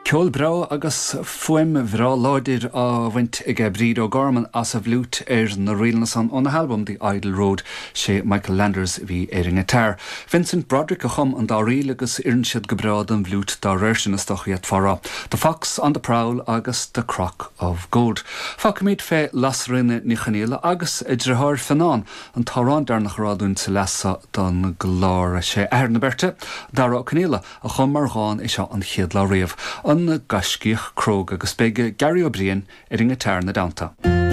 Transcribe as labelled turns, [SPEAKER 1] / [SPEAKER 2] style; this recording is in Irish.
[SPEAKER 1] Ceol breá agus fuaim bhreá láidir á bhaint aige Bríd O'Gorman as a bhfliúit ar na ríleanna san óna halbam The Idle Road. Sé Michael Landers a bhí ar an ngiotár. Vincent Broderick a chum an dá ríl agus oireann siad go breá don bhfliúit dá réir sin is dócha d'fhéadfá a rá. The Fox on the Prowl agus The Crock of Gold. Fágfaimid fé Lasairfhíona Ní Chonghaile agus a deartháir Fionán an t-amhrán deireanach a rá dúinn sa leath seo don gclár. Sé athair na beirte, Dara Ó Conaola, a chum mar dhán é seo an chéad lá riamh, An Gaiscíoch Cróga, agus beidh Gary Ó Briain ar an ngiotár ina dteannta.